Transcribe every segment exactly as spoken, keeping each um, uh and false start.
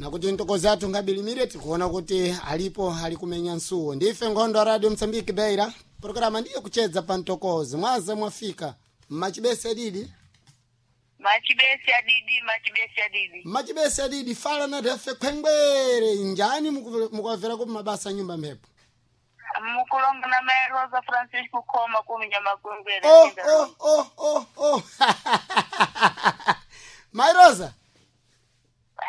Nakuti ntokozi athu ngabilimire tikuona kuti alipo ali kumenya nsuwo. Ndife nkhondo ya Radio Msambiki Beira. Programa ndiyo kuchedza pa ntokozi. Mwaza mwafika. Machibese adidi. Machibesi adidi, machibesi adidi. Machibese adidi fala na refe khwengwere njani mukuwavera ku mabasa nyumba mphepo. Mukulonga na Mary Rosa Francisco koma kuminya makwengwere. Oh oh oh oh oh. Mai Rosa.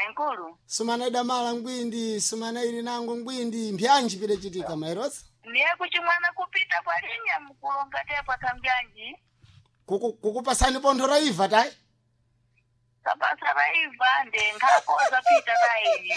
Ankulu. Sumana idamala ngwindi, sumana ili nango ngwindi, mbyanji pile chitika Mai Rosa. Niye kuchimwana kupita kwa linya mukulonga tepa kambyanji. Kuku kukupasani pontho raiva tai. Kapasa raiva nde nkhakoza pita kaili.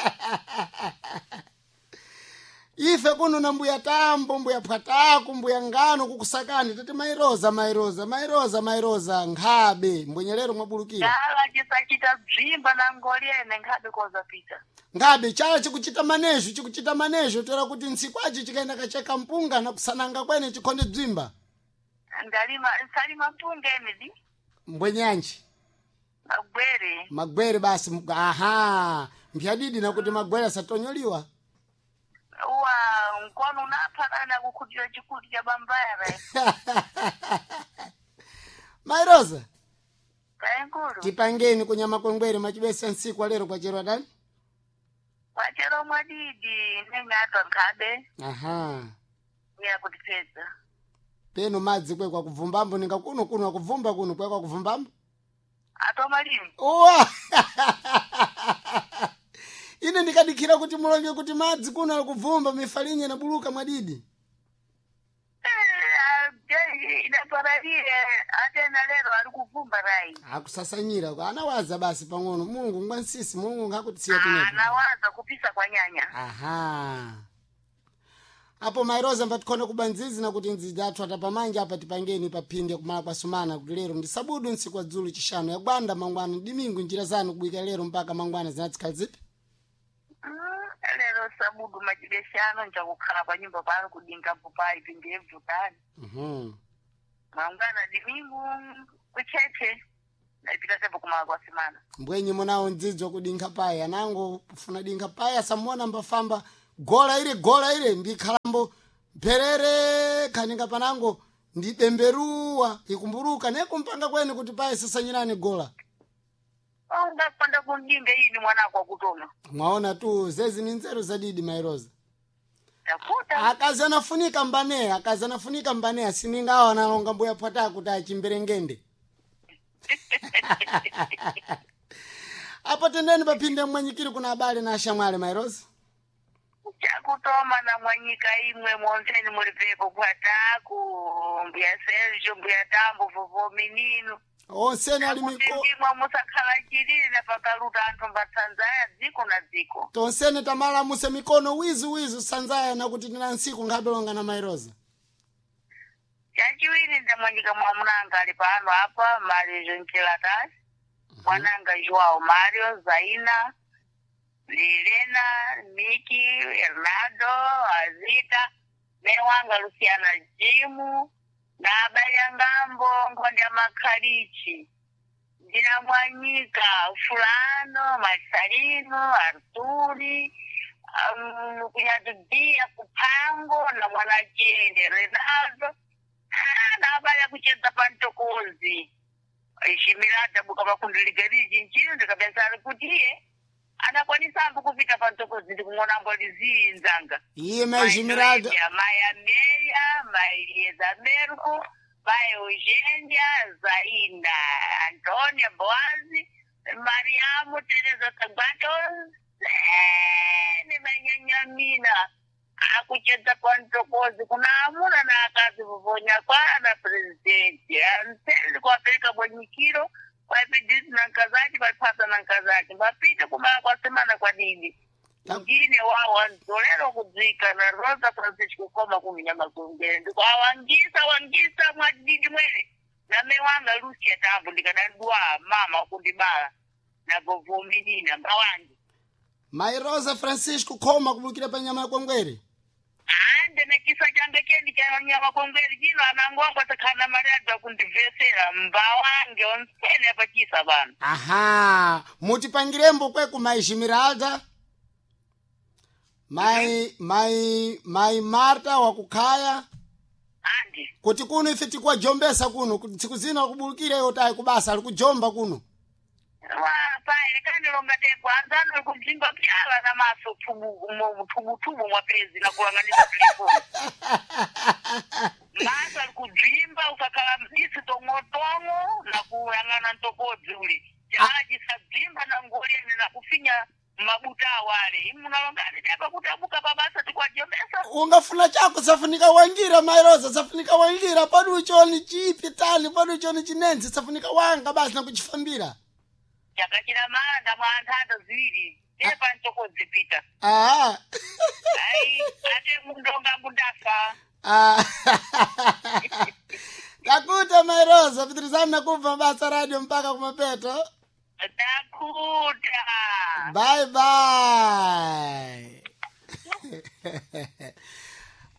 Ife kuno na mbuya tambo, mbuya phwataku, mbuya ngano kukusakani tati mairoza mairoza mairoza mairoza nkhabe mbwenyelero mwabulukira. Chala chisachita bzimba na ngoliene nkhabe koza pita. Nkhabe chala chikuchita manejo chikuchita manejo toera kuti nsikwachi chikaenda kacheka mpunga na kusananga kwene chikhonde bzimba. Ndalima nsalima mpunga emidi. Mbwenyanji Magwere. magwere basi mg- aha mphyadidi nakuti magwere asatonyoliwa. Uwa mkono unaphalana kukhutira chikuti cha bambara. Mairoza Kaenkulu. tipangeni kunyama kwengwere machibesa nsiku alero kwachero adani. Kwachero mwadidi neng'atwa nkhabe Aha. ya kutipedza. Peno madzi kwe kwakuvumbambo ninga kuno kuno akuvumba kuno kwe kwakuvumbambo. Atomalimi. Uwa! Ine ndikadikhira kuti mulonge kuti madzi kuno akuvumba mifalinye na buluka mwadidi. Idaparalire atena lero ari kuvumba rai. Akusasanyira kwa anawaza basi pang'ono Mulungu ngwa nsisi Mulungu ngakutisiya kunepo. Anawaza kupisa kwa nyanya. Aha. Apo Mairoza mbatikhone kubanzizi na kuti nzizi athu atapamanja apa tipangeni paphinde kumala kwa sumana kuti lero ndi sabudu ntsiku wa dzulu chishanu yagwanda mangwana dimingu njira zanu kubwika lero mpaka mangwana zinatsikhala zipi? Mm, lero sabudu machibeshano njakukhala pa nyumba pano kudinga mpupai pindebvutani. Mhm. Mangwana dimingu kucheche. Ndaipita tepo kumala kwa simana. Mbwenyi munawo ndzidzi wakudinkha payi anango kufuna dinkha payi asamuona mbafamba gola ile gola ile ndikhalambo mpherere khaninga panango ndibemberuwa ikumburuka nekumpanga kwene kuti payi sasanyirani gola. Ungapanda kundinga ini mwanako akutoma. Mwaona tu zezi ni nzeru zadidi Mairoza. Takuta. Akazi anafunika mbaneya akazi anafunika mbaneya siningawo analonga mbuya phwata kuti achimberengende. Apo tendeni paphinde mmwanyikiri kuna abale na ashamwale Mairoza. Chakutoma na mwanyika imwe monseni mulipepo kwataku mbuya Sergio mbuya Tambo vovo minino. Onseni ali Kuti miko ndimwe musakhala chilili na pakaluta anthu mbatsanzaya dziko na dziko. tonsene tamala muse mikono wizu wizu sanzaya nakuti tina ntsiku nkhabelonga na Mairoza. Chachiwiri ndamwanyika mwamunanga ali pano apa Mario Nchilatasi, mwananga Joao Mario, Zaina, Lilena, Miki, Hernando, Azita, mewanga Luciana Jimu, na abale ngambo nkhonde ya makhalichi. Ndinamwanyika Fulano, Marcelino, Arturi, um, kunyatubia kupango na mwanachende Renaldo. Nabaya kucheza pantokozi shimirata buka makundiligerizi nchino ndikapensari kuti iye anakwanisa ambo kupita pantokozi ndikung'ona mboliziinzanga Iye maizhimiralda mai Amelia, mai Elieza Merko, mai Eugenia, Zaina, Antonia Boazi, Mariamu Teresa Tagbato, ne manyanyamina akuchedza kwantokozi kuna amuna na akazi kuvonya kwana presidenti anseli kuwapereka bwenyikiro kwaipidisi na nkazati vaipasa na nkazati vapite kumala kwasemana kwa dini Ta- ngine wawo anzolero kudzika na Rosa Francisco koma kuminyama kungere ndiko awangisa wangisa mwadidi mwene name wanga Lucia Tambo ndikadadwa mama kundibala nagovuminina mbawangi Mairoza Francisco khoma kubulukira pa nyama ya kwengwere. ande nekisa change chendi chanyama kongweri chino anangwangwa sakhana mali kundivhesera mbawange onsene apachisa vanhu Aha, mutipangirembo kwe kumaizhimiralda. Mai mai mai Marta wakukhaya Andi. Kuti kuno ife tikwajombesa kuno kuti tsiku zina kubulukira iyo tayi kubasa ali kujomba kuno. Wa pai kandilonga tepo anzano ali kumzimba pyala na maso tubu mo- tubutubu mwa pezi na kulanganiza telefoni. Maso ali kudzimba ukakhala mdisi tong'otong'o na kuyang'ana mtokodzi uli. Chala chisadzimba na ngolene na kufinya mabuta awale. Imu munalongani tepa kuti abuka pabasa tikwajombesa. Ungafuna chako safunika wangira mairoza safunika wangira padu uchoni chipi tani padu uchoni chinenzi safunika wanga basi nakuchifambira. Chakachira manda mwa anthanda ziwiri. Tepa mtokodzi pita. Ah. Ai, ate mundonga mundafa. Ah. Takuta mairoza pitirizani nakubva mabasa radio mpaka kumapeto. Takuta. Bye bye.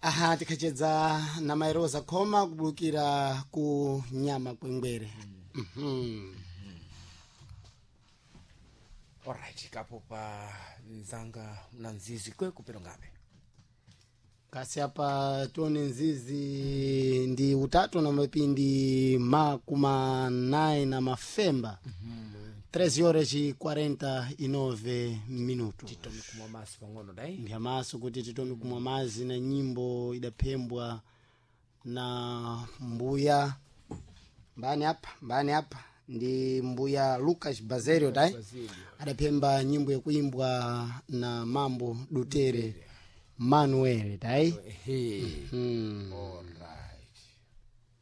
Aha, tikhachedza na mairoza khoma kubulukira ku nyama kwengwere. Mhm. Alright, kapo pa nzanga na nzizi kwe kupero ngape. Kasi apa tione nzizi ndi utatu na mapindi makumi nayi na mafemba. treze horas e quarenta e nove minutos. Titomi kumwa masi pang'ono dai. Ndi amaso kuti titome kumwa mazi na nyimbo idaphembwa na mbuya mbani apa mbani apa ndi mbuya Lucas Bazerio dai adaphemba nyimbo yakuimbwa na Mambo Dutere Manuel dai. Ehe. Hmm. Alright.